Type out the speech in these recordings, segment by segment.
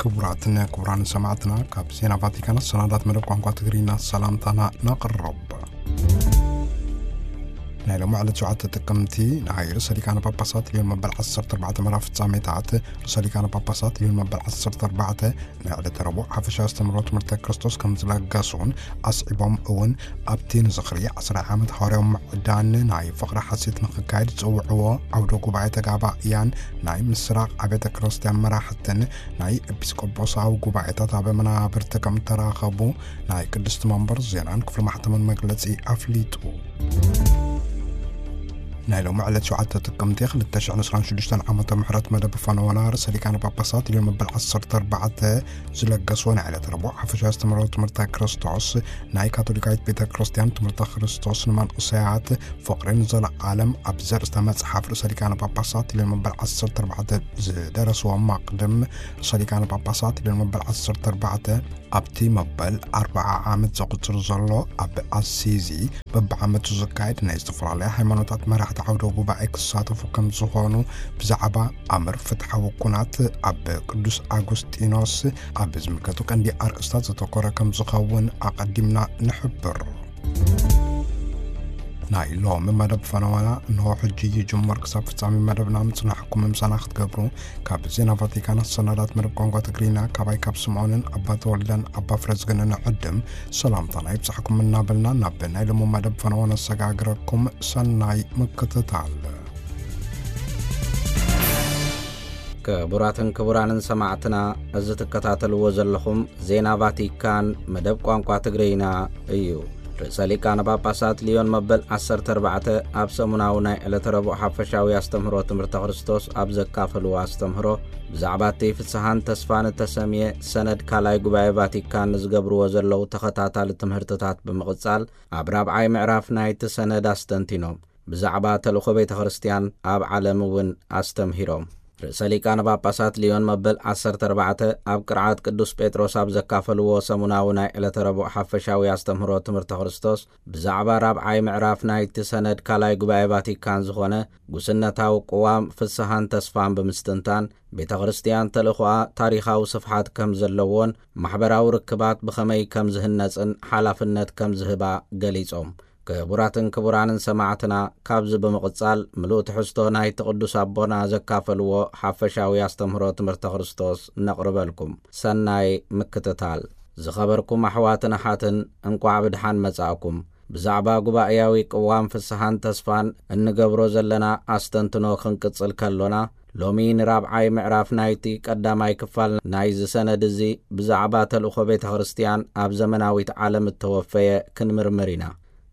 ክቡራትን ክቡራን ሰማዕትና፣ ካብ ዜና ቫቲካን ሰናዳት መደብ ቋንቋ ትግርኛ ሰላምታና ነቕርብ። ናይ ሎሚ ዕለት ሸውዓተ ጥቅምቲ ናይ ርእሰ ሊቃነ ጳጳሳት ሊዮን መበል ዓሰርተ ኣርባዕተ መርሃ ፍጻሜታት፣ ርእሰ ሊቃነ ጳጳሳት ሊዮን መበል ዓሰርተ ኣርባዕተ ናይ ዕለተ ረቡዕ ሓፈሻዊ ኣስተምህሮ ትምህርተ ክርስቶስ ከም ዝለገሱን ኣስዒቦም እውን ኣብቲ ንዝኽሪ ዓስራይ ዓመት ሃዋርያዊ ምዕዳን ናይ ፍቕሪ ሓሴት ንኽካየድ ዝጸውዕዎ ዓውደ ጉባኤ ተጋባእያን ናይ ምስራቕ ኣብያተ ክርስቲያን መራሕትን ናይ ኤጲስቆጶሳዊ ጉባኤታት ኣብ መናብርቲ ከም ተራኸቡ ናይ ቅድስቲ መንበር ዜናን ክፍሊ ማሕተምን መግለጺ ኣፍሊጡ። ናይ ሎሚ ዕለት ሸውዓተ ጥቅምቲ ክልተ ሽሕን ዕስራን ሽዱሽተን ዓመተ ምሕረት መደብ ፈነወና ርእሰ ሊቃነ ጳጳሳት ሊዮን መበል ዓሰርተ ኣርባዕተ ዝለገስዎ ናይ ዕለት ረቡዕ ሓፈሻዊ ኣስተምህሮ ትምህርተ ክርስቶስ ናይ ካቶሊካዊት ቤተ ክርስቲያን ትምህርተ ክርስቶስ ንመንእሰያት ፍቕርን ዘለዓለም ኣብ ዘርእስተ መጽሓፍ ርእሰ ሊቃነ ጳጳሳት ሊዮን መበል ዓሰርተ ኣርባዕተ ዝደረስዎ ማቕድም ርእሰ ሊቃነ ጳጳሳት ሊዮን መበል ዓሰርተ ኣርባዕተ ኣብቲ መበል ኣርብዓ ዓመት ዘቑጽር ዘሎ ኣብ ኣሲዚ በብዓመቱ ዝካየድ ናይ ዝተፈላለያ ሃይማኖታት መራሕቲ ዓውደ ጉባኤ ክሳተፉ ከም ዝኾኑ ብዛዕባ ኣምር ፍትሓዊ ኩናት ኣብ ቅዱስ ኣጉስጢኖስ ኣብ ዝምልከቱ ቀንዲ ኣርእስታት ዘተኮረ ከም ዝኸውን ኣቐዲምና ንሕብር። ናይ ሎሚ መደብ ፈነወና እንሆ ሕጂ ይጅመር። ክሳብ ፍጻሜ መደብና ምጽናሕኩም ምሳና ክትገብሩ ካብ ዜና ቫቲካን ሰናዳት መደብ ቋንቋ ትግርኛ ካባይ ካብ ስምዖንን ኣባ ተወልደን ኣባ ፍረዝግንን ዕድም ሰላምታና ይብጻሕኩም እናበልና ናብ ናይ ሎሚ መደብ ፈነወ ነሰጋግረኩም። ሰናይ ምክትታል። ክቡራትን ክቡራንን ሰማዕትና፣ እዚ ትከታተልዎ ዘለኹም ዜና ቫቲካን መደብ ቋንቋ ትግርኛ እዩ። ርእሰ ሊቃነ ጳጳሳት ሊዮን መበል ዓሰርተ ኣርባዕተ ኣብ ሰሙናዊ ናይ ዕለተ ረቡዕ ሓፈሻዊ ኣስተምህሮ ትምህርተ ክርስቶስ ኣብ ዘካፈልዎ ኣስተምህሮ፣ ብዛዕባ እቲ ፍስሓን ተስፋን እተሰምየ ሰነድ ካልኣይ ጉባኤ ቫቲካን ንዝገብርዎ ዘለዉ ተኸታታሊ ትምህርትታት ብምቕጻል፣ ኣብ ራብዓይ ምዕራፍ ናይቲ ሰነድ ኣስተንቲኖም። ብዛዕባ ተልእኾ ቤተ ክርስቲያን ኣብ ዓለም እውን ኣስተምሂሮም። ርእሰ ሊቃነ ጳጳሳት ሊዮን መበል ዓሰርተ ኣርባዕተ ኣብ ቅርዓት ቅዱስ ጴጥሮስ ኣብ ዘካፈልዎ ሰሙናዊ ናይ ዕለተ ረቡዕ ሓፈሻዊ ኣስተምህሮ ትምህርተ ክርስቶስ፣ ብዛዕባ ራብዓይ ምዕራፍ ናይቲ ሰነድ ካልኣይ ጉባኤ ቫቲካን ዝኾነ ጉስነታዊ ቅዋም ፍስሃን ተስፋን ብምስትንታን፣ ቤተ ክርስቲያን ተልእኾኣ ታሪኻዊ ስፍሓት ከም ዘለዎን ማሕበራዊ ርክባት ብኸመይ ከም ዝህነጽን ሓላፍነት ከም ዝህባ ገሊጾም። ክቡራትን ክቡራንን ሰማዕትና፣ ካብዚ ብምቕጻል ምሉእ ትሕዝቶ ናይቲ ቅዱስ ኣቦና ዘካፈልዎ ሓፈሻዊ ኣስተምህሮ ትምህርተ ክርስቶስ ነቕርበልኩም። ሰናይ ምክትታል። ዝኸበርኩም ኣሕዋትን ኣሓትን፣ እንቋዕ ብድሓን መጻእኩም። ብዛዕባ ጉባኤያዊ ቅዋም ፍስሓን ተስፋን እንገብሮ ዘለና ኣስተንትኖ ክንቅጽል ከሎና፣ ሎሚ ንራብዓይ ምዕራፍ ናይቲ ቀዳማይ ክፋል ናይዚ ሰነድ እዚ ብዛዕባ ተልእኾ ቤተ ክርስቲያን ኣብ ዘመናዊት ዓለም እተወፈየ ክንምርምር ኢና።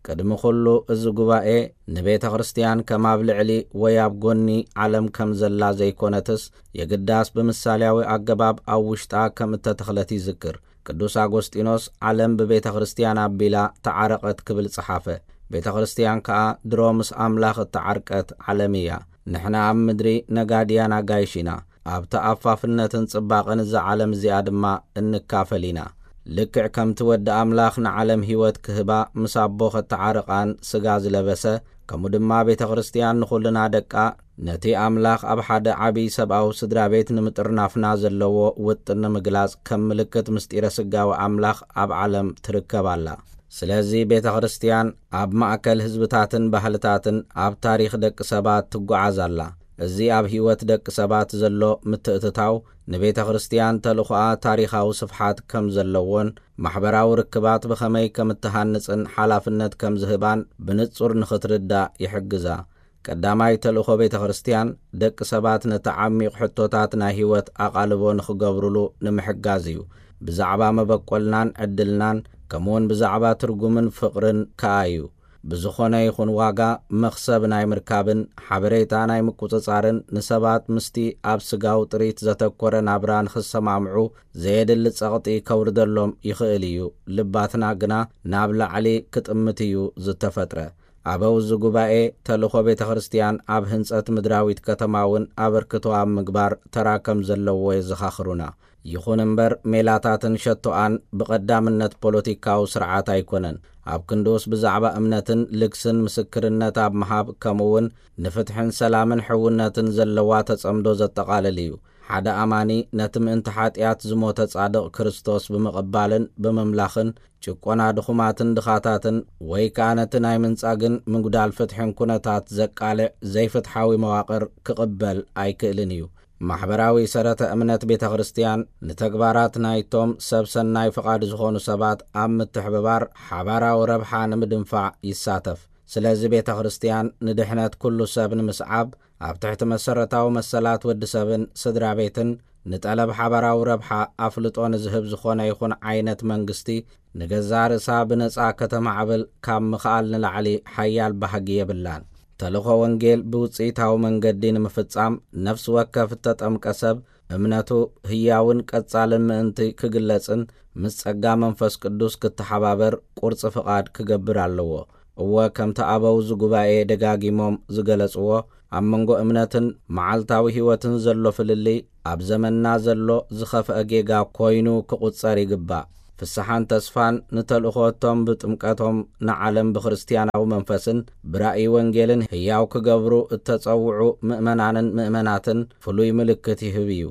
ቅድሚ ኩሉ፣ እዚ ጉባኤ ንቤተ ክርስቲያን ከም ኣብ ልዕሊ ወይ ኣብ ጎኒ ዓለም ከም ዘላ ዘይኮነትስ፣ የግዳስ ብምሳሌያዊ ኣገባብ ኣብ ውሽጣ ከም እተተኽለት ይዝክር። ቅዱስ ኣጎስጢኖስ፣ ዓለም ብቤተ ክርስቲያን ኣቢላ ተዓረቐት ክብል ጸሓፈ። ቤተ ክርስቲያን ከኣ ድሮ ምስ ኣምላኽ እተዓርቀት ዓለም እያ። ንሕና ኣብ ምድሪ ነጋድያን ኣጋይሽ ኢና። ኣብ ተኣፋፍነትን ጽባቐን እዛ ዓለም እዚኣ ድማ እንካፈል ኢና። ልክዕ ከምቲ ወዲ ኣምላኽ ንዓለም ህይወት ክህባ ምስ ኣቦ ኸተዓርቓን ስጋ ዝለበሰ፣ ከምኡ ድማ ቤተ ክርስቲያን ንኹልና ደቃ ነቲ ኣምላኽ ኣብ ሓደ ዓብዪ ሰብኣዊ ስድራ ቤት ንምጥርናፍና ዘለዎ ውጥን ንምግላጽ ከም ምልክት ምስጢረ ስጋዊ ኣምላኽ ኣብ ዓለም ትርከብ ኣላ። ስለዚ ቤተ ክርስቲያን ኣብ ማእከል ህዝብታትን ባህልታትን ኣብ ታሪኽ ደቂ ሰባት ትጓዓዝ ኣላ። እዚ ኣብ ህይወት ደቂ ሰባት ዘሎ ምትእትታው ንቤተ ክርስቲያን ተልእኾኣ ታሪኻዊ ስፍሓት ከም ዘለዎን ማሕበራዊ ርክባት ብኸመይ ከም እትሃንጽን ሓላፍነት ከም ዝህባን ብንጹር ንኽትርዳእ ይሕግዛ። ቀዳማይ ተልእኾ ቤተ ክርስቲያን፣ ደቂ ሰባት ነቲ ዓሚቕ ሕቶታት ናይ ህይወት ኣቓልቦ ንኽገብሩሉ ንምሕጋዝ እዩ። ብዛዕባ መበቆልናን ዕድልናን፣ ከምኡውን ብዛዕባ ትርጉምን ፍቕርን ከኣ እዩ። ብዝኾነ ይኹን ዋጋ፣ መኽሰብ ናይ ምርካብን ሓበሬታ ናይ ምቁጽጻርን፣ ንሰባት ምስቲ ኣብ ስጋዊ ጥሪት ዘተኮረ ናብራ ንኽሰማምዑ ዘየድሊ ጸቕጢ ከውርደሎም ይኽእል እዩ። ልባትና ግና ናብ ላዕሊ ክጥምት እዩ ዝተፈጥረ። ኣበው እዚ ጉባኤ፣ ተልእኾ ቤተ ክርስቲያን ኣብ ህንጸት ምድራዊት ከተማ እውን ኣበርክቶ ኣብ ምግባር ተራ ከም ዘለዎ የዘኻኽሩና። ይኹን እምበር፣ ሜላታትን ሸቶኣን ብቐዳምነት ፖለቲካዊ ስርዓት ኣይኮነን። ኣብ ክንድኡስ፣ ብዛዕባ እምነትን ልግስን ምስክርነት ኣብ ምሃብ፣ ከምኡውን ንፍትሕን ሰላምን ሕውነትን ዘለዋ ተጸምዶ ዘጠቓልል እዩ። ሓደ ኣማኒ ነቲ ምእንቲ ሓጢኣት ዝሞተ ጻድቕ ክርስቶስ ብምቕባልን ብምምላኽን፣ ጭቆና ድኹማትን ድኻታትን፣ ወይ ከኣ ነቲ ናይ ምንጻግን ምጉዳል ፍትሕን ኩነታት ዘቃልዕ ዘይፍትሓዊ መዋቕር ክቕበል ኣይክእልን እዩ። ማሕበራዊ ሰረተ እምነት ቤተ ክርስቲያን ንተግባራት ናይቶም ሰብ ሰናይ ፍቓድ ዝኾኑ ሰባት ኣብ ምትሕብባር ሓባራዊ ረብሓ ንምድንፋዕ ይሳተፍ። ስለዚ ቤተ ክርስቲያን ንድሕነት ኩሉ ሰብ ንምስዓብ ኣብ ትሕቲ መሰረታዊ መሰላት ወዲ ሰብን ስድራ ቤትን ንጠለብ ሓባራዊ ረብሓ ኣፍልጦ ንዝህብ ዝኾነ ይኹን ዓይነት መንግስቲ ንገዛእ ርእሳ ብነጻ ከተማዕብል ካብ ምኽኣል ንላዕሊ ሓያል ባህጊ የብላን። ተልእኾ ወንጌል ብውጽኢታዊ መንገዲ ንምፍጻም ነፍሲ ወከፍ እተጠምቀ ሰብ እምነቱ ህያውን ቀጻልን ምእንቲ ክግለጽን ምስ ጸጋ መንፈስ ቅዱስ ክተሓባበር ቁርጺ ፍቓድ ክገብር ኣለዎ። እወ፣ ከምቲ ኣበው እዚ ጉባኤ ደጋጊሞም ዝገለጽዎ፣ ኣብ መንጎ እምነትን መዓልታዊ ህይወትን ዘሎ ፍልልይ ኣብ ዘመንና ዘሎ ዝኸፍአ ጌጋ ኮይኑ ክቑጸር ይግባእ። ፍስሓን ተስፋን ንተልእኾ እቶም ብጥምቀቶም ንዓለም ብክርስትያናዊ መንፈስን ብራእይ ወንጌልን ህያው ክገብሩ እተጸውዑ ምእመናንን ምእመናትን ፍሉይ ምልክት ይህብ እዩ።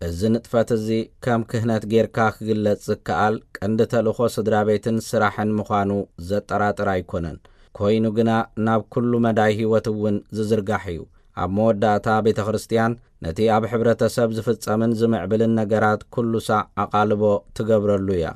እዚ ንጥፈት እዚ ከም ክህነት ጌርካ ክግለጽ ዝከኣል ቀንዲ ተልእኾ ስድራ ቤትን ስራሕን ምዃኑ ዘጠራጥር ኣይኮነን። ኮይኑ ግና ናብ ኩሉ መዳይ ህይወት እውን ዝዝርጋሕ እዩ። ኣብ መወዳእታ ቤተ ክርስቲያን ነቲ ኣብ ሕብረተሰብ ዝፍጸምን ዝምዕብልን ነገራት ኩሉ ሳዕ ኣቓልቦ ትገብረሉ እያ።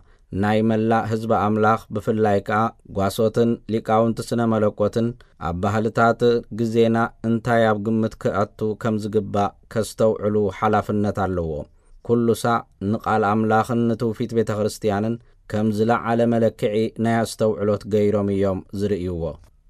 ናይ መላእ ህዝቢ ኣምላኽ ብፍላይ ከኣ ጓሶትን ሊቃውንቲ ስነ መለኮትን ኣብ ባህልታት ግዜና እንታይ ኣብ ግምት ክኣቱ ከም ዝግባእ ከስተውዕሉ ሓላፍነት ኣለዎም። ኩሉ ሳዕ ንቓል ኣምላኽን ንትውፊት ቤተ ክርስቲያንን ከም ዝለዓለ መለክዒ ናይ ኣስተውዕሎት ገይሮም እዮም ዝርእይዎ።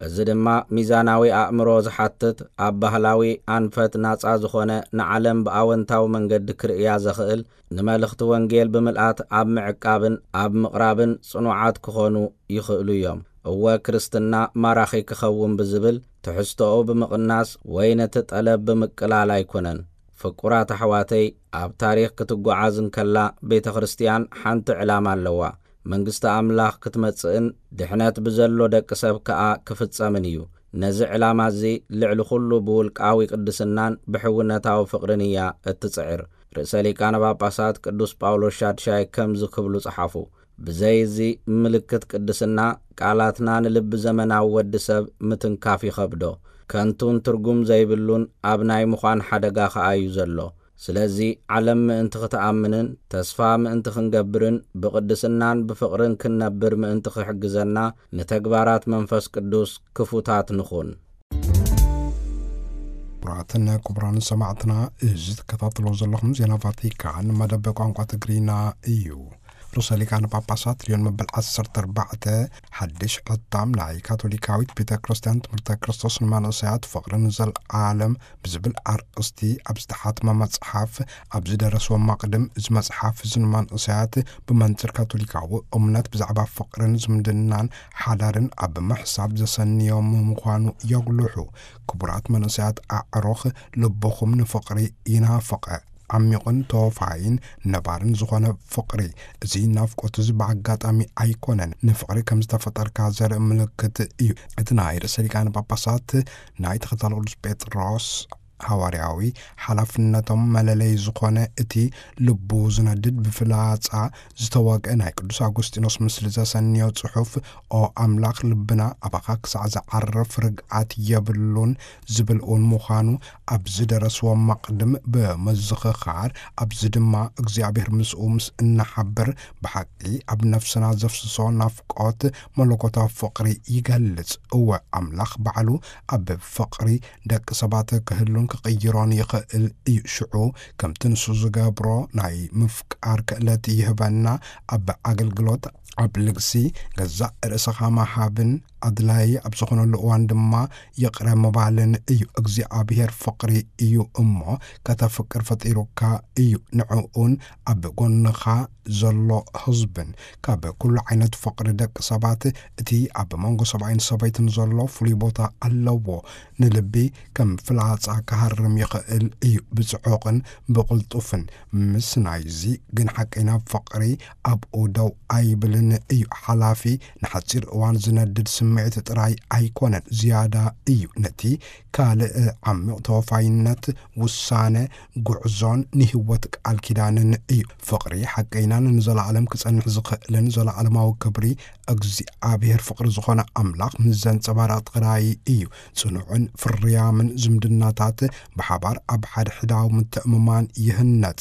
እዚ ድማ ሚዛናዊ ኣእምሮ ዝሓትት፣ ኣብ ባህላዊ ኣንፈት ናጻ ዝኾነ፣ ንዓለም ብኣወንታዊ መንገዲ ክርእያ ዘኽእል፣ ንመልእኽቲ ወንጌል ብምልኣት ኣብ ምዕቃብን ኣብ ምቕራብን ጽኑዓት ክኾኑ ይኽእሉ እዮም። እወ፣ ክርስትና ማራኺ ክኸውን ብዝብል ትሕዝቶኡ ብምቕናስ ወይ ነቲ ጠለብ ብምቅላል ኣይኮነን። ፍቁራት ኣሕዋተይ፣ ኣብ ታሪኽ ክትጓዓዝ እንከላ ቤተ ክርስቲያን ሓንቲ ዕላማ ኣለዋ። መንግስቲ ኣምላኽ ክትመጽእን ድሕነት ብዘሎ ደቂ ሰብ ከኣ ክፍጸምን እዩ። ነዚ ዕላማ እዚ ልዕሊ ኩሉ ብውልቃዊ ቅድስናን ብሕውነታዊ ፍቕርን እያ እትጽዕር። ርእሰ ሊቃነ ጳጳሳት ቅዱስ ጳውሎስ ሻድሻይ ከምዚ ክብሉ ጸሓፉ፣ ብዘይ እዚ ምልክት ቅድስና ቃላትና ንልቢ ዘመናዊ ወዲ ሰብ ምትንካፍ ይኸብዶ። ከንቱን ትርጉም ዘይብሉን ኣብ ናይ ምዃን ሓደጋ ከኣ እዩ ዘሎ። ስለዚ ዓለም ምእንቲ ክትኣምንን ተስፋ ምእንቲ ክንገብርን ብቕድስናን ብፍቕርን ክንነብር ምእንቲ ክሕግዘና ንተግባራት መንፈስ ቅዱስ ክፉታት ንኹን። ክቡራትን ክቡራን ሰማዕትና፣ እዚ ትከታተሎ ዘለኹም ዜና ቫቲካን መደብ ቋንቋ ትግርኛ እዩ። ርእሰ ሊቃነ ጳጳሳት ሊዮን መበል ዓሰርተ ኣርባዕተ ሓድሽ ሕታም ናይ ካቶሊካዊት ቤተ ክርስቲያን ትምህርተ ክርስቶስ ንመንእሰያት ፍቕርን ዘልዓለም ብዝብል ኣርእስቲ ኣብ ዝተሓትመ መጽሓፍ ኣብ ዝደረስዎ መቕድም፣ እዚ መጽሓፍ እዚ ንመንእሰያት ብመንጽር ካቶሊካዊ እምነት ብዛዕባ ፍቕርን ዝምድናን ሓዳርን ኣብ ምሕሳብ ዘሰንዮም ምዃኑ የጉልሑ። ክቡራት መንእሰያት ኣዕሩኽ፣ ልብኹም ንፍቕሪ ይናፍቐ። ዓሚቕን ተወፋይን ነባርን ዝኾነ ፍቕሪ። እዚ ናፍቆት እዚ ብኣጋጣሚ ኣይኮነን፣ ንፍቕሪ ከም ዝተፈጠርካ ዘርኢ ምልክት እዩ። እቲ ናይ ርእሰ ሊቃነ ጳጳሳት ናይ ተኸታሊ ቅዱስ ጴጥሮስ ሃዋርያዊ ሓላፍነቶም መለለይ ዝኾነ፣ እቲ ልቡ ዝነድድ ብፍላጻ ዝተወግአ ናይ ቅዱስ ኣጉስጢኖስ ምስሊ ዘሰንዮ ጽሑፍ፣ "ኦ ኣምላኽ፣ ልብና ኣባኻ ክሳዕ ዝዓርፍ ርግኣት የብሉን" ዝብል እውን ምዃኑ ኣብ ዝደረስዎ መቕድም ብምዝኽኻር፣ ኣብዚ ድማ እግዚኣብሔር ምስኡ ምስ እናሓብር፣ ብሓቂ ኣብ ነፍስና ዘፍስሶ ናፍቆት መለኮታዊ ፍቕሪ ይገልጽ። እወ፣ ኣምላኽ ባዕሉ ኣብ ፍቕሪ ደቂ ሰባት ክህሉን ክቕይሮን ይኽእል እዩ። ሽዑ ከምቲ ንሱ ዝገብሮ ናይ ምፍቃር ክእለት ይህበና። ኣብ ኣገልግሎት፣ ኣብ ልግሲ፣ ገዛእ ርእስኻ ምሃብን ኣድላዪ ኣብ ዝኾነሉ እዋን ድማ ይቕረ ምባልን እዩ። እግዚኣብሔር ፍቕሪ እዩ እሞ፣ ከተፍቅር ፈጢሩካ እዩ። ንዕኡን ኣብ ጎንኻ ዘሎ ህዝብን ካብ ኩሉ ዓይነት ፍቕሪ ደቂ ሰባት እቲ ኣብ መንጎ ሰብኣይን ሰበይትን ዘሎ ፍሉይ ቦታ ኣለዎ። ንልቢ ከም ፍላጻ ክሃርም ይኽእል እዩ፣ ብጽዑቕን ብቕልጡፍን። ምስ ናይዚ ግን ሓቀይና ፍቕሪ ኣብኡ ደው ኣይብልን እዩ። ሓላፊ ንሓጺር እዋን ዝነድድ ስምዒት ጥራይ ኣይኮነን፣ ዝያዳ እዩ። ነቲ ካልእ ዓሚቕ ተወፋይነት፣ ውሳነ፣ ጉዕዞን ንህይወት ቃል ኪዳንን እዩ። ፍቕሪ ሓቀይናን ንዘለኣለም ክጸንሕ ዝኽእልን ዘለኣለማዊ ክብሪ እግዚኣብሔር ፍቕሪ ዝኾነ ኣምላኽ ምስ ዘንጸባርቕ ጥራይ እዩ። ጽኑዕን ፍርያምን ዝምድናታት ብሓባር ኣብ ሓድሕዳዊ ምትእምማን ይህነጽ።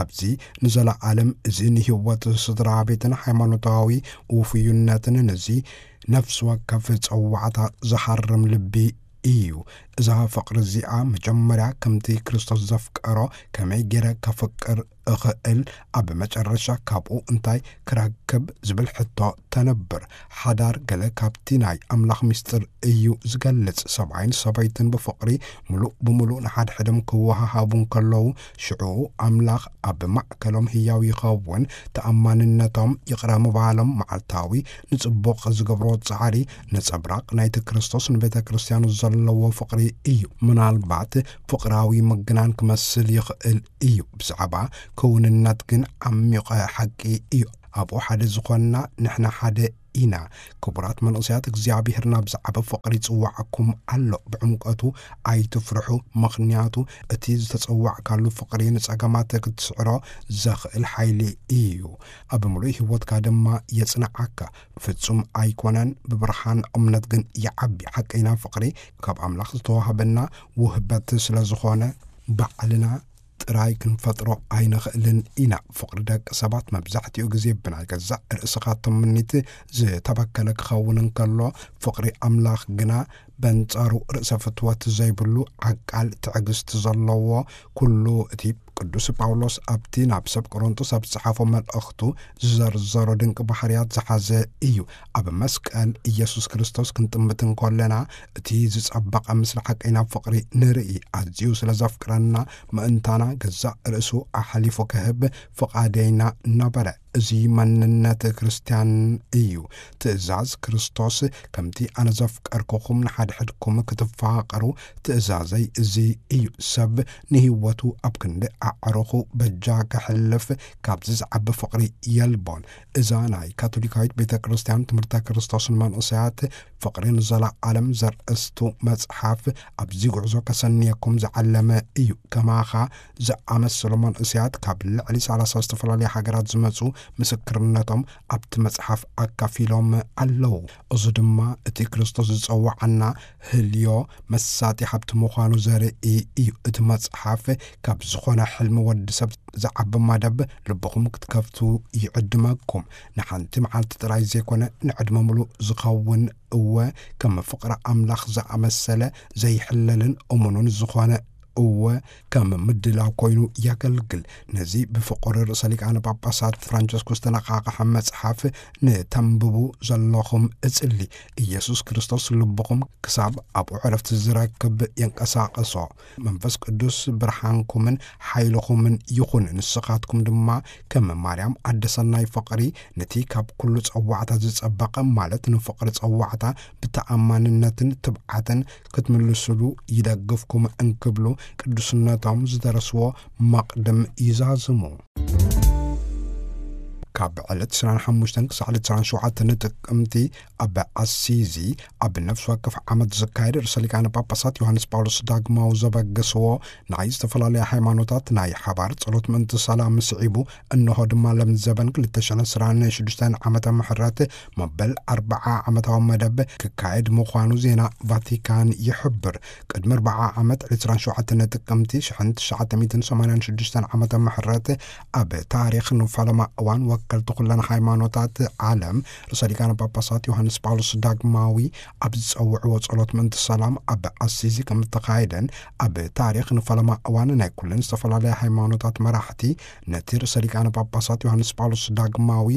ኣብዚ ንዘለኣለም እዚ ንህይወት ስድራ ቤትን ሃይማኖታዊ ውፍዩነትን ነዚ ነፍሲ ወከፍ ጸዋዕታ ዝሃርም ልቢ እዩ። እዛ ፍቕሪ እዚኣ መጀመርያ ከምቲ ክርስቶስ ዘፍቀሮ ከመይ ገይረ ከፍቅር እኽእል፣ ኣብ መጨረሻ ካብኡ እንታይ ክረክብ ዝብል ሕቶ ተነብር። ሓዳር ገለ ካብቲ ናይ ኣምላኽ ምስጢር እዩ ዝገልጽ። ሰብኣይን ሰበይትን ብፍቕሪ ምሉእ ብምሉእ ንሓድሕዶም ክወሃሃቡ እንከለዉ፣ ሽዑ ኣምላኽ ኣብ ማእከሎም ህያው ይኸውን። ተኣማንነቶም፣ ይቕረ ምባሎም፣ መዓልታዊ ንጽቡቕ ዝገብሮ ጻዕሪ ነጸብራቕ ናይቲ ክርስቶስ ንቤተ ክርስቲያኑ ዘለዎ ፍቕሪ እዩ። ምናልባት ፍቕራዊ ምግናን ክመስል ይኽእል እዩ። ብዛዕባ ክውንነት ግን ዓሚቐ ሓቂ እዩ። ኣብኡ ሓደ ዝኾንና ንሕና ሓደ ኢና። ክቡራት መንእሰያት፣ እግዚኣብሔር ናብ ዝዓበ ፍቕሪ ይጽውዓኩም ኣሎ። ብዕምቀቱ ኣይትፍርሑ፣ ምኽንያቱ እቲ ዝተጸዋዕካሉ ፍቕሪ ንጸገማት ክትስዕሮ ዘኽእል ሓይሊ እዩ። ኣብ ምሉእ ህይወትካ ድማ የጽንዓካ። ፍጹም ኣይኮነን፣ ብብርሃን እምነት ግን ይዓቢ። ሓቀይና ፍቕሪ ካብ ኣምላኽ ዝተዋህበና ውህበት ስለ ዝኾነ፣ ባዕልና ጥራይ ክንፈጥሮ ኣይንኽእልን ኢና። ፍቕሪ ደቂ ሰባት መብዛሕትኡ ግዜ ብናይ ገዛእ ርእስኻ ትምኒት ዝተበከለ ክኸውን እንከሎ፣ ፍቕሪ ኣምላኽ ግና በንጻሩ ርእሰ ፍትወት ዘይብሉ ዓቃል ትዕግስቲ ዘለዎ፣ ኩሉ እቲ ቅዱስ ጳውሎስ ኣብቲ ናብ ሰብ ቆሮንቶስ ኣብ ዝጸሓፎ መልእኽቱ ዝዘርዘሮ ድንቂ ባህርያት ዝሓዘ እዩ። ኣብ መስቀል ኢየሱስ ክርስቶስ ክንጥምት እንከለና፣ እቲ ዝጸበቐ ምስሊ ሓቀይና ፍቕሪ ንርኢ። ኣዝዩ ስለ ዘፍቅረና፣ ምእንታና ገዛእ ርእሱ ኣሕሊፉ ክህብ ፍቓደይና ነበረ። እዚ መንነት ክርስትያን እዩ። ትእዛዝ ክርስቶስ፣ "ከምቲ ኣነ ዘፍቀርኩኹም ንሓድሕድኩም ክትፋቐሩ ትእዛዘይ እዚ እዩ።" ሰብ ንህይወቱ ኣብ ክንዲ ኣዕሩኹ በጃ ከሕልፍ ካብዚ ዝዓቢ ፍቕሪ የልቦን። እዛ ናይ ካቶሊካዊት ቤተ ክርስትያን ትምህርተ ክርስቶስ ንመንእሰያት ፍቕሪ ንዘለኣለም ዘርእስቱ መጽሓፍ ኣብዚ ጉዕዞ ከሰንየኩም ዝዓለመ እዩ። ከማኻ ዝኣመሰሉ መንእሰያት ካብ ልዕሊ ሰላሳ ዝተፈላለያ ሃገራት ዝመጹ ምስክርነቶም ኣብቲ መጽሓፍ ኣካፊሎም ኣለዉ። እዚ ድማ እቲ ክርስቶስ ዝጸውዓና ህልዮ መሳጢ ሃብቲ ምዃኑ ዘርኢ እዩ። እቲ መጽሓፍ ካብ ዝኾነ ሕልሚ ወዲ ሰብ ዝዓቢ መደብ ልብኹም ክትከፍቱ ይዕድመኩም። ንሓንቲ መዓልቲ ጥራይ ዘይኮነ፣ ንዕድመ ምሉእ ዝኸውን፣ እወ፣ ከም ፍቕሪ ኣምላኽ ዝኣመሰለ ዘይሕለልን እሙኑን ዝኾነ፣ እወ፣ ከም ምድላው ኮይኑ የገልግል። ነዚ ብፍቑር ርእሰ ሊቃነ ጳጳሳት ፍራንቸስኮስ ዝተነቓቕሐ መጽሓፍ ንተንብቡ ዘለኹም እጽሊ። ኢየሱስ ክርስቶስ ልብኹም ክሳብ ኣብኡ ዕረፍቲ ዝረክብ የንቀሳቕሶ። መንፈስ ቅዱስ ብርሃንኩምን ሓይልኹምን ይኹን። ንስኻትኩም ድማ ከም ማርያም ኣደ ሰናይ ፍቕሪ ነቲ ካብ ኩሉ ጸዋዕታ ዝጸበቐ፣ ማለት ንፍቕሪ ጸዋዕታ ብተኣማንነትን ትብዓትን ክትምልስሉ ይደግፍኩም እንክብሉ ቅዱስነቶም ዝደረስዎ መቕድም ይዛዝሙ። ካብ ዕለት ዕስራን ሓሙሽተን ክሳዕ ዕለት ዕስራን ሸውዓተን ጥቅምቲ ኣብ ኣሲዚ ኣብ ነፍሲ ወከፍ ዓመት ዝካየድ ርእሰ ሊቃነ ጳጳሳት ዮሃንስ ጳውሎስ ዳግማዊ ዘበገስዎ ናይ ዝተፈላለያ ሃይማኖታት ናይ ሓባር ጸሎት ምእንቲ ሰላም ስዒቡ፣ እንሆ ድማ ለምዘበን ክልተ ሽሕን ዕስራን ሽዱሽተን ዓመተ ምሕረት መበል ኣርብዓ ዓመታዊ መደብ ክካየድ ምዃኑ ዜና ቫቲካን ይሕብር። ቅድሚ ኣርብዓ ዓመት ዕስራን ሸውዓተን ጥቅምቲ ሽሕን ትሽዓተ ሚእትን ሰማንያን ሽዱሽተን ዓመተ ምሕረት ኣብ ታሪኽ ንፈለማ እዋን ወከልቲ ኩለን ሃይማኖታት ዓለም ርእሰ ሊቃነ ጳጳሳት ዮሃንስ ጳውሎስ ዳግማዊ ኣብ ዝጸውዕዎ ጸሎት ምእንቲ ሰላም ኣብ ኣሲዚ ከም እተኻየደን ኣብ ታሪኽ ንፈለማ እዋን ናይ ኩለን ዝተፈላለያ ሃይማኖታት መራሕቲ ነቲ ርእሰ ሊቃነ ጳጳሳት ዮሃንስ ጳውሎስ ዳግማዊ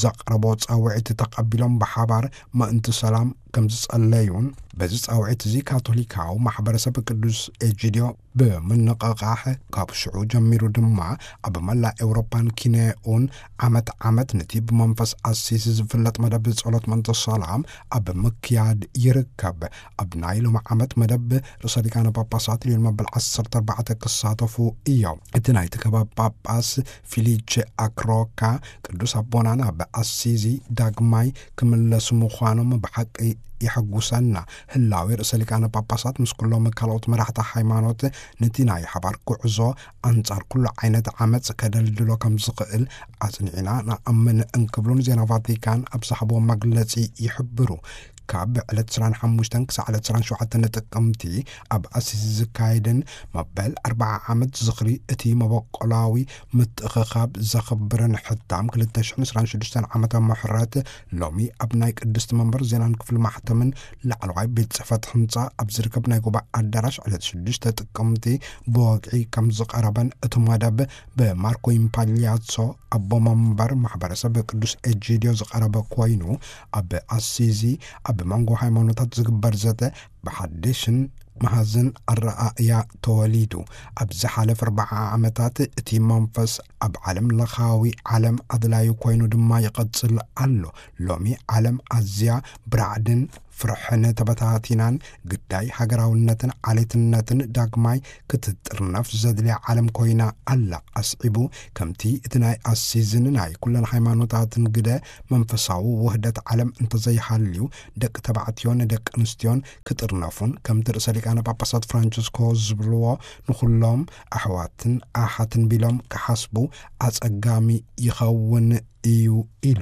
ዘቕረቦ ጻውዒት ተቐቢሎም ብሓባር ምእንቲ ሰላም ከም ዝጸለዩን፣ በዚ ጻውዒት እዚ ካቶሊካዊ ማሕበረሰብ ቅዱስ ኤጂድዮ ብምንቕቓሕ፣ ካብ ሽዑ ጀሚሩ ድማ ኣብ መላእ ኤውሮጳን ኪንዮኡን ዓመት ዓመት ነቲ ብመንፈስ ኣሲሲ ዝፍለጥ መደብ ጸሎት መንፈስ ሰላም ኣብ ምክያድ ይርከብ። ኣብ ናይ ሎሚ ዓመት መደብ ርእሰ ሊቃነ ጳጳሳት ሊዮን መበል ዓሰርተ ኣርባዕተ ክሳተፉ እዮም። እቲ ናይቲ ከባቢ ጳጳስ ፊሊቼ ኣክሮካ፣ ቅዱስ ኣቦና ናብ ኣሲዚ ዳግማይ ክምለሱ ምዃኖም ብሓቂ የሐጉሰና። ህላዌ ርእሰ ሊቃነ ጳጳሳት ምስ ኩሎም ካልኦት መራሕቲ ሃይማኖት ነቲ ናይ ሓባር ጉዕዞ ኣንጻር ኩሉ ዓይነት ዓመጽ ከደልድሎ ከም ዝኽእል ኣጽኒዕና ንኣምን እንክብሉን ዜና ቫቲካን ኣብ ዝሃብዎ መግለጺ ይሕብሩ። ካብ ዕለት ዕስራን ሓሙሽተን ክሳዕ ዕለት ዕስራን ሸውዓተን ጥቅምቲ ኣብ ኣሲሲ ዝካየድን መበል ኣርብዓ ዓመት ዝኽሪ እቲ መበቆላዊ ምትእኽኻብ ዘኽብርን ሕታም ክልተ ሽሕን ዕስራን ሽዱሽተን ዓመተ ምሕረት ሎሚ ኣብ ናይ ቅድስቲ መንበር ዜናን ክፍሊ ማሕተምን ላዕለዋይ ቤት ጽሕፈት ህንጻ ኣብ ዝርከብ ናይ ጉባኤ ኣዳራሽ ዕለት ሽዱሽተ ጥቅምቲ ብወግዒ ከም ዝቐረበን እቲ መደብ ብማርኮ ኢምፓሊያሶ ኣቦ መንበር ማሕበረሰብ ቅዱስ ኤጂድዮ ዝቐረበ ኮይኑ፣ ኣብ ኣሲዚ ኣብ መንጎ ሃይማኖታት ዝግበር ዘተ ብሓድሽን መሃዝን ኣረኣእያ ተወሊዱ። ኣብ ዝሓለፈ ኣርብዓ ዓመታት እቲ መንፈስ ኣብ ዓለም ለኻዊ ዓለም ኣድላዩ ኮይኑ ድማ ይቐጽል ኣሎ። ሎሚ ዓለም ኣዝያ ብራዕድን ፍርሕን ተበታቲናን ግዳይ ሃገራውነትን ዓሌትነትን ዳግማይ ክትጥርነፍ ዘድልያ ዓለም ኮይና ኣላ። ኣስዒቡ፣ ከምቲ እቲ ናይ ኣሲዝን ናይ ኩለን ሃይማኖታትን ግደ መንፈሳዊ ውህደት ዓለም እንተዘይሃልዩ፣ ደቂ ተባዕትዮን ደቂ ኣንስትዮን ክጥርነፉን፣ ከምቲ ርእሰ ሊቃነ ጳጳሳት ፍራንቸስኮ ዝብልዎ፣ ንኹሎም ኣሕዋትን ኣሓትን ቢሎም ክሓስቡ ኣጸጋሚ ይኸውን እዩ ኢሉ።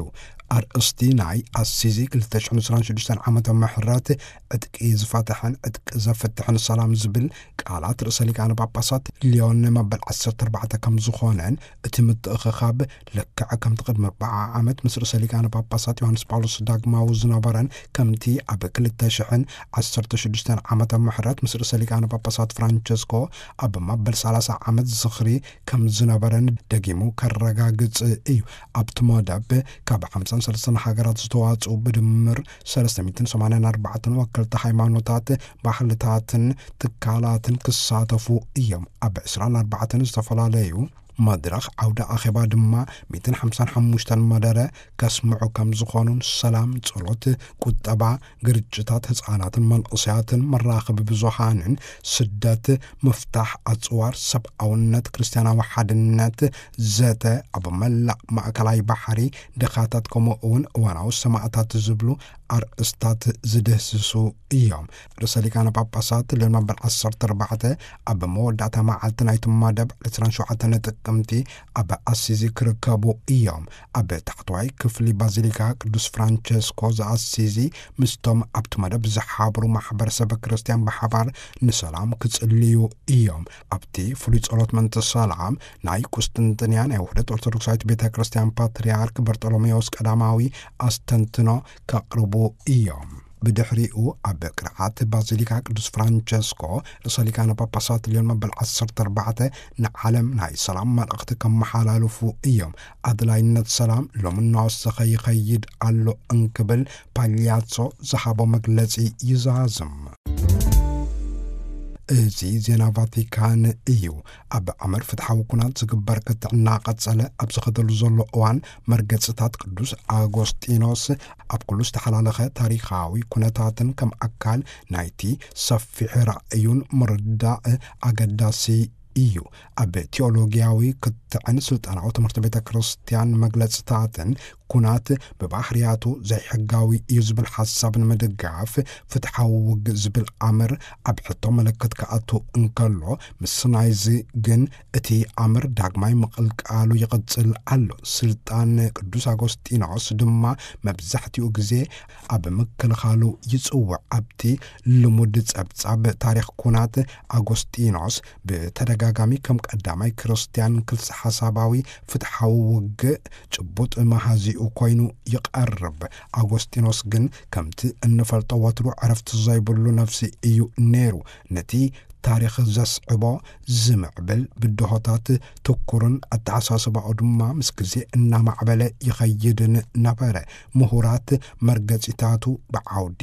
ኣርእስቲ ናይ ኣሲዚ ክልተ ሽሕን ዕስራን ሽዱሽተን ዓመተ ምሕረት ዕጥቂ ዝፈትሐን ዕጥቂ ዘፍትሕን ሰላም ዝብል ቃላት ርእሰ ሊቃነ ጳጳሳት ሊዮን መበል ዓሰርተ ኣርባዕተ ከም ዝኾነን፣ እቲ ምትእኽኻብ ልክዕ ከምቲ ቅድሚ ኣርብዓ ዓመት ምስ ርእሰ ሊቃነ ጳጳሳት ዮሃንስ ጳውሎስ ዳግማዊ ዝነበረን፣ ከምቲ ኣብ ክልተ ሽሕን ዓሰርተ ሽዱሽተን ዓመተ ምሕረት ምስ ርእሰ ሊቃነ ጳጳሳት ፍራንቸስኮ ኣብ መበል ሰላሳ ዓመት ዝኽሪ ከም ዝነበረን ደጊሙ ከረጋግጽ እዩ። ኣብቲ መደብ ካብ ሓምሳን ሰለስተን ሃገራት ዝተዋጽኡ ብድምር ሰለስተ ሚእትን ሰማንያን ኣርባዕተን ወከልቲ ሃይማኖታት፣ ባህልታትን ትካላትን ክሳተፉ እዮም። ኣብ ዕስራን ኣርባዕተን ዝተፈላለዩ መድረኽ ዓውደ ኣኼባ ድማ ሚእትን ሓምሳን ሓሙሽተን መደረ ከስምዑ ከም ዝኾኑን፣ ሰላም፣ ጸሎት፣ ቁጠባ፣ ግርጭታት፣ ህጻናትን መንእሰያትን፣ መራኸቢ ብዙሃንን፣ ስደት፣ ምፍታሕ ኣጽዋር፣ ሰብኣውነት፣ ክርስትያናዊ ሓድነት፣ ዘተ ኣብ መላእ ማእከላይ ባሕሪ፣ ድኻታት፣ ከምኡ እውን እዋናዊ ሰማእታት ዝብሉ ኣርእስታት ዝድህስሱ እዮም። ርእሰ ሊቃነ ጳጳሳት ሊዮን መበል ዓሰርተ ኣርባዕተ ኣብ መወዳእታ መዓልቲ ናይቲ መደብ ዕስራን ሸውዓተን ጥቅምቲ ኣብ ኣሲዚ ክርከቡ እዮም። ኣብ ታሕተዋይ ክፍሊ ባዚሊካ ቅዱስ ፍራንቸስኮ ዘኣሲዚ ምስቶም ኣብቲ መደብ ዝሓብሩ ማሕበረሰብ ክርስትያን ብሓባር ንሰላም ክጽልዩ እዮም። ኣብቲ ፍሉይ ጸሎት ምእንቲ ሰላም ናይ ቁስጥንጥንያ ናይ ውህደት ኦርቶዶክሳዊት ቤተ ክርስትያን ፓትርያርክ በርጠሎሜዎስ ቀዳማዊ ኣስተንትኖ ከቕርቡ እዮም። ብድሕሪኡ ኣብ ቅርዓት ባዚሊካ ቅዱስ ፍራንቸስኮ ርእሰ ሊቃነ ጳጳሳት ሊዮን መበል ዓሰርተ ኣርባዕተ ንዓለም ናይ ሰላም መልእኽቲ ከመሓላልፉ እዮም። ኣድላይነት ሰላም ሎሚ እናወሰኸ ይኸይድ ኣሎ እንክብል ፓልያሶ ዝሃቦ መግለጺ ይዛዝም። እዚ ዜና ቫቲካን እዩ። ኣብ ኣምር ፍትሓዊ ኩናት ዝግበር ክትዕ እናቐጸለ ኣብ ዝኸደሉ ዘሎ እዋን፣ መርገጽታት ቅዱስ ኣጎስጢኖስ ኣብ ኩሉ ዝተሓላለኸ ታሪኻዊ ኩነታትን ከም ኣካል ናይቲ ሰፊሕ ራእዩን ምርዳእ ኣገዳሲ እዩ። ኣብ ቴዎሎጊያዊ ክትዕን ስልጣናዊ ትምህርቲ ቤተ ክርስቲያን መግለጽታትን፣ ኩናት ብባህርያቱ ዘይሕጋዊ እዩ ዝብል ሓሳብ ንምድጋፍ፣ ፍትሓዊ ውግእ ዝብል ኣምር ኣብ ሕቶ ምልክት ክኣቱ እንከሎ፣ ምስ ናይዚ ግን እቲ ኣምር ዳግማይ ምቕልቃሉ ይቕጽል ኣሎ። ስልጣን ቅዱስ ኣጎስጢኖስ ድማ መብዛሕትኡ ግዜ ኣብ ምክልኻሉ ይጽውዕ። ኣብቲ ልሙድ ጸብጻብ ታሪኽ ኩናት፣ ኣጎስጢኖስ ብተደጋጋሚ ከም ቀዳማይ ክርስትያን ክልሰ ሓሳባዊ ፍትሓዊ ውግእ ጭቡጥ መሃዚኡ ኮይኑ ይቐርብ። ኣጎስጢኖስ ግን ከምቲ እንፈልጦ ወትሩ ዕረፍቲ ዘይብሉ ነፍሲ እዩ ነይሩ። ነቲ ታሪኽ ዘስዕቦ ዝምዕብል ብድሆታት ትኩርን ኣተሓሳስባኡ ድማ ምስ ግዜ እናማዕበለ ይኸይድን ነበረ። ምሁራት መርገጺታቱ ብዓውዲ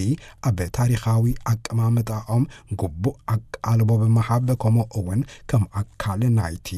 ኣብ ታሪኻዊ ኣቀማምጣኦም ግቡእ ኣቃልቦ ብምሃብ፣ ከምኡ እውን ከም ኣካል ናይቲ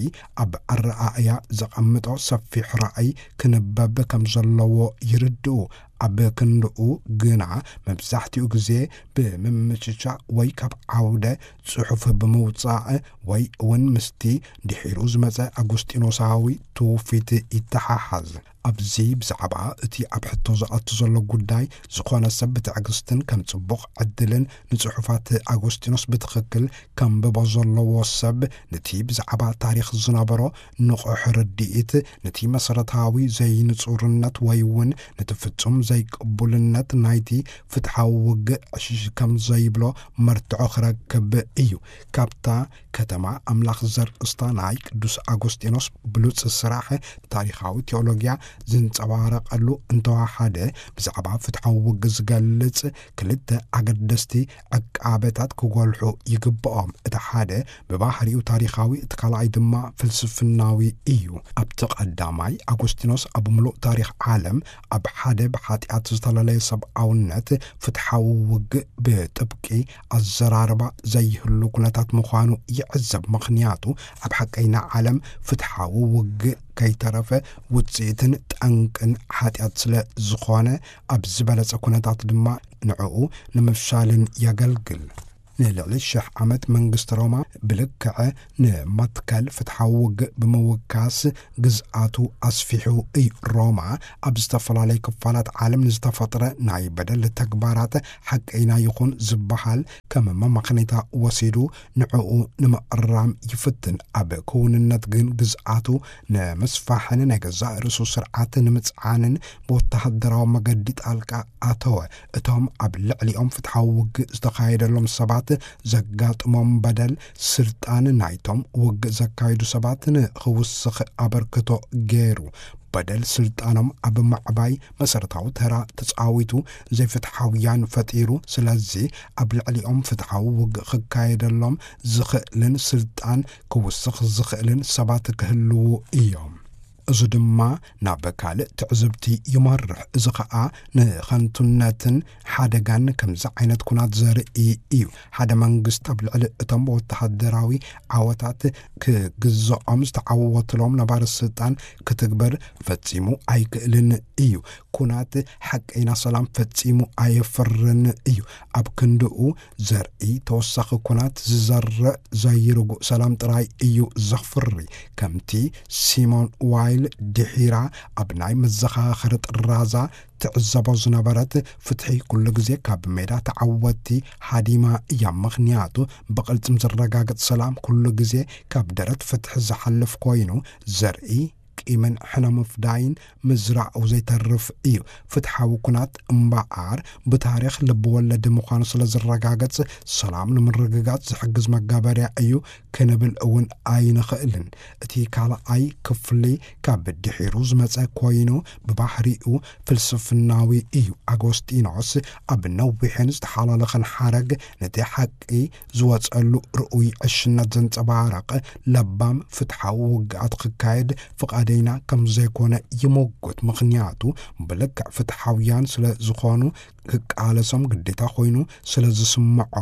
ኣብ ኣረኣእያ ዘቐምጦ ሰፊሕ ራእይ ክንበብ ከም ዘለዎ ይርድኡ። ኣብ ክንድኡ ግና፣ መብዛሕትኡ ግዜ ብምምችቻ ወይ ካብ ዓውደ ጽሑፍ ብምውጻእ ወይ እውን ምስቲ ድሒሩ ዝመጸ ኣጉስጢኖሳዊ ትውፊት ይተሓሓዝ። ኣብዚ ብዛዕባ እቲ ኣብ ሕቶ ዝኣቱ ዘሎ ጉዳይ ዝኾነ ሰብ ብትዕግስትን ከም ጽቡቕ ዕድልን ንጽሑፋት ኣጎስጢኖስ ብትኽክል ከንብቦ ዘለዎ ሰብ፣ ነቲ ብዛዕባ ታሪኽ ዝነበሮ ንቑሕ ርድኢት፣ ነቲ መሰረታዊ ዘይንጹርነት ወይ እውን ነቲ ፍጹም ዘይቅቡልነት ናይቲ ፍትሓዊ ውግእ ዕሽሽ ከም ዘይብሎ መርትዖ ክረክብ እዩ። ካብታ ከተማ ኣምላኽ ዘርእስታ ናይ ቅዱስ ኣጎስጢኖስ ብሉጽ ስራሕ ታሪኻዊ ቴዎሎጊያ ዝንጸባረቐሉ እንተወሓደ፣ ብዛዕባ ፍትሓዊ ውግእ ዝገልጽ ክልተ ኣገደስቲ ዕቃበታት ክጎልሑ ይግብኦም። እቲ ሓደ ብባህሪኡ ታሪኻዊ፣ እቲ ካልኣይ ድማ ፍልስፍናዊ እዩ። ኣብቲ ቀዳማይ፣ ኣጎስጢኖስ ኣብ ምሉእ ታሪኽ ዓለም ኣብ ሓደ ብሓጢኣት ዝተለለየ ሰብኣውነት ፍትሓዊ ውግእ ብጥብቂ ኣዘራርባ ዘይህሉ ኩነታት ምዃኑ ይዕዘብ። ምኽንያቱ፣ ኣብ ሓቀይና ዓለም ፍትሓዊ ውግእ ከይተረፈ ውጽኢትን ጠንቅን ሓጢኣት ስለ ዝኾነ፣ ኣብ ዝበለጸ ኩነታት ድማ ንዕኡ ንምፍሻልን የገልግል። ንልዕሊ ሽሕ ዓመት መንግስቲ ሮማ ብልክዕ ንመትከል ፍትሓዊ ውግእ ብምውካስ ግዝኣቱ ኣስፊሑ እዩ። ሮማ ኣብ ዝተፈላለየ ክፋላት ዓለም ንዝተፈጥረ ናይ በደል ተግባራት ሓቀይና ይኹን ዝበሃል ከም መመኽነይታ ወሲዱ ንዕኡ ንምእራም ይፍትን። ኣብ ክውንነት ግን ግዝኣቱ ንምስፋሕን ናይ ገዛእ ርእሱ ስርዓት ንምጽዓንን ብወተሃደራዊ መገዲ ጣልቃ ኣተወ። እቶም ኣብ ልዕሊኦም ፍትሓዊ ውግእ ዝተኻየደሎም ሰባት ዘጋጥሞም በደል፣ ስልጣን ናይቶም ውግእ ዘካየዱ ሰባት ንኽውስኽ ኣበርክቶ ገይሩ። በደል ስልጣኖም ኣብ ምዕባይ መሰረታዊ ተራ ተጻዊቱ፣ ዘይፍትሓውያን ፈጢሩ። ስለዚ ኣብ ልዕሊኦም ፍትሓዊ ውግእ ክካየደሎም ዝኽእልን ስልጣን ክውስኽ ዝኽእልን ሰባት ክህልዉ እዮም። እዚ ድማ ናብ ካልእ ትዕዝብቲ ይመርሕ። እዚ ኸኣ ንኸንቱነትን ሓደጋን ከምዚ ዓይነት ኩናት ዘርኢ እዩ። ሓደ መንግስቲ ኣብ ልዕሊ እቶም ወተሃደራዊ ዓወታት ክግዝኦም ዝተዓወትሎም ነባሪ ስልጣን ክትግበር ፈጺሙ ኣይክእልን እዩ። ኩናት ሓቀይና ሰላም ፈጺሙ ኣየፍርን እዩ። ኣብ ክንድኡ ዘርኢ ተወሳኺ ኩናት ዝዘርእ ዘይርጉእ ሰላም ጥራይ እዩ ዘፍሪ። ከምቲ ሲሞን ዋይል ድሒራ ኣብ ናይ መዘኻኸሪ ጥራዛ ትዕዘቦ ዝነበረት፣ ፍትሒ ኩሉ ግዜ ካብ ሜዳ ተዓወትቲ ሃዲማ እያ። ምኽንያቱ ብቕልጽም ዝረጋገጽ ሰላም ኩሉ ግዜ ካብ ደረት ፍትሒ ዝሓልፍ ኮይኑ፣ ዘርኢ ቂምን ሕነ ምፍዳይን ምዝራኡ ዘይተርፍ እዩ። ፍትሓዊ ኩናት እምበኣር ብታሪኽ ልቢ ወለድ ምዃኑ ስለ ዝረጋገጽ፣ ሰላም ንምርግጋጽ ዝሕግዝ መጋበርያ እዩ ክንብል እውን ኣይንኽእልን። እቲ ካልኣይ ክፍሊ ካብ ድሒሩ ዝመጸ ኮይኑ፣ ብባህሪኡ ፍልስፍናዊ እዩ። ኣጎስጢኖስ ኣብ ነዊሕን ዝተሓላለኸን ሓረግ ነቲ ሓቂ ዝወጸሉ ርኡይ ዕሽነት ዘንጸባርቕ፣ ለባም ፍትሓዊ ውግኣት ክካየድ ፍቓደይና ከም ዘይኮነ ይምጉት። ምኽንያቱ ብልክዕ ፍትሓውያን ስለ ዝኾኑ፣ ክቃለሶም ግዴታ ኮይኑ ስለ ዝስምዖ።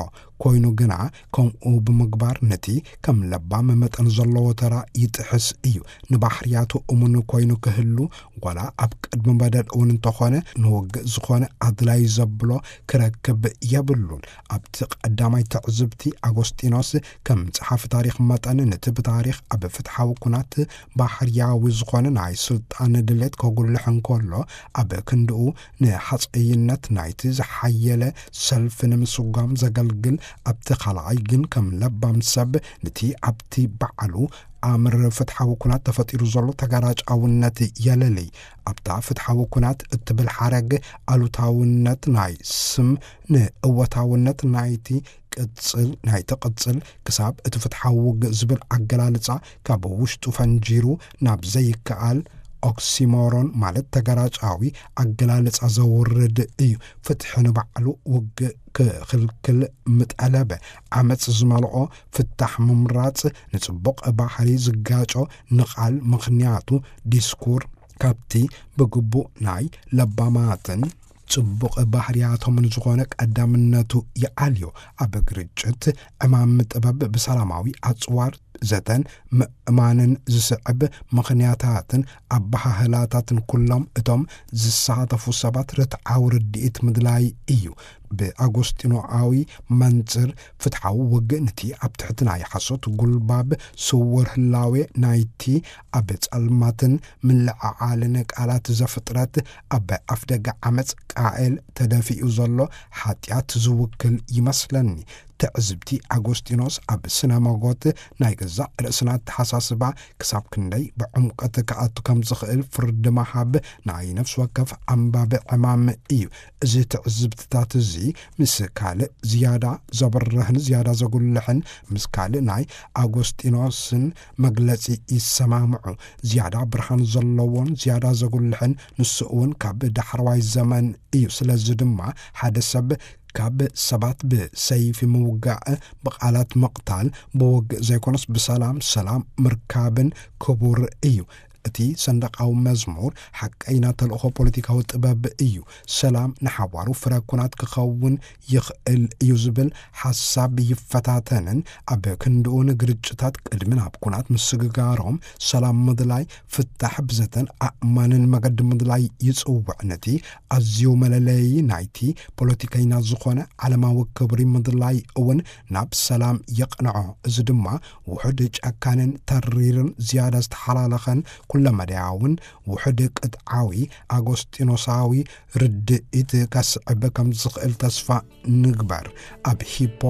ኮይኑ ግና፣ ከምኡ ብምግባር ነቲ ከም ለባም መጠን ዘለዎ ተራ ይጥሕስ እዩ። ንባህርያቱ እሙን ኮይኑ ክህሉ፣ ዋላ ኣብ ቅድሚ በደል እውን እንተኾነ፣ ንውግእ ዝኾነ ኣድላዪ ዘብሎ ክረክብ የብሉን። ኣብቲ ቀዳማይ ትዕዝብቲ፣ ኣጎስጢኖስ ከም ጸሓፊ ታሪኽ መጠን፣ ነቲ ብታሪኽ ኣብ ፍትሓዊ ኩናት ባህርያዊ ዝኾነ ናይ ስልጣን ድሌት ከጉልሕ እንከሎ፣ ኣብ ክንድኡ ንሓጸይነት ናይቲ ዝሓየለ ሰልፊ ንምስጓም ዘገልግል፣ ኣብቲ ካልኣይ ግን ከም ለባም ሰብ ነቲ ኣብቲ ባዕሉ ኣምር ፍትሓዊ ኩናት ተፈጢሩ ዘሎ ተጋራጫውነት የለልይ። ኣብታ ፍትሓዊ ኩናት እትብል ሓረግ ኣሉታውነት ናይ ስም ንእወታውነት ናይቲ ቅጽል፣ ናይቲ ቅጽል ክሳብ እቲ ፍትሓዊ ውግእ ዝብል ኣገላልጻ ካብ ውሽጡ ፈንጂሩ ናብ ዘይከኣል ኦክሲሞሮን ማለት ተገራጫዊ ኣገላልጻ ዘውርድ እዩ። ፍትሒ ንባዕሉ ውግእ ክኽልክል ምጠለበ፣ ዓመጽ ዝመልኦ ፍታሕ ምምራጽ ንጽቡቕ ባህሪ ዝጋጮ ንቓል፣ ምኽንያቱ ዲስኩር ካብቲ ብግቡእ ናይ ለባማትን ጽቡቕ ባህርያቶምን ዝኾነ ቀዳምነቱ ይዓልዮ። ኣብ ግርጭት ዕማም ጥበብ ብሰላማዊ ኣጽዋር ዘተን ምእማንን ዝስዕብ ምኽንያታትን ኣበሃህላታትን ኩሎም እቶም ዝሳተፉ ሰባት ርትዓዊ ርድኢት ምድላይ እዩ። ብኣጎስጢኖኣዊ መንጽር ፍትሓዊ ውግእ ንቲ ኣብ ትሕቲ ናይ ሓሶት ጉልባብ ስውር ህላዌ ናይቲ ኣብ ጸልማትን ምልዕዓልን ቃላት ዘፍጥረት ኣብ ኣፍደገ ዓመጽ ቃኤል ተደፊኡ ዘሎ ሓጢኣት ዝውክል ይመስለኒ። ትዕዝብቲ ኣጎስጢኖስ ኣብ ስነ መጎት ናይ ገዛእ ርእስና ኣተሓሳስባ ክሳብ ክንደይ ብዕምቀት ክኣቱ ከም ዝኽእል ፍርዲ ምሃብ ናይ ነፍሲ ወከፍ ኣንባቢ ዕማም እዩ። እዚ ትዕዝብትታት እዚ ምስ ካልእ ዝያዳ ዘብርህን ዝያዳ ዘጉልሕን፣ ምስ ካልእ ናይ ኣጎስጢኖስን መግለጺ ይሰማምዑ። ዝያዳ ብርሃን ዘለዎን ዝያዳ ዘጉልሕን ንሱ እውን ካብ ዳሕረዋይ ዘመን እዩ። ስለዚ ድማ ሓደ ሰብ ካብ ሰባት ብሰይፊ ምውጋእ፣ ብቓላት ምቕታል፣ ብውግእ ዘይኮነስ ብሰላም፣ ሰላም ምርካብን ክቡር እዩ። እቲ ሰንደቃዊ መዝሙር ሓቀይና ተልእኾ ፖለቲካዊ ጥበብ እዩ። ሰላም ንሓዋሩ ፍረ ኩናት ክኸውን ይኽእል እዩ ዝብል ሓሳብ ይፈታተንን፣ ኣብ ክንድኡ ንግርጭታት ቅድሚ ናብ ኩናት ምስግጋሮም ሰላም ምድላይ፣ ፍታሕ ብዘተን ኣእማንን መገዲ ምድላይ ይጽውዕ። ነቲ ኣዝዩ መለለዪ ናይቲ ፖለቲከኛ ዝኾነ ዓለማዊ ክብሪ ምድላይ እውን ናብ ሰላም የቕንዖ። እዚ ድማ ውሑድ ጨካንን ተሪርን ዝያዳ ዝተሓላለኸን ኩለመዳያውን ውሑድ ቅጥዓዊ ኣጎስጢኖሳዊ ርድኢት ከስዕብ ከም ዝኽእል ተስፋ ንግበር። ኣብ ሂፖ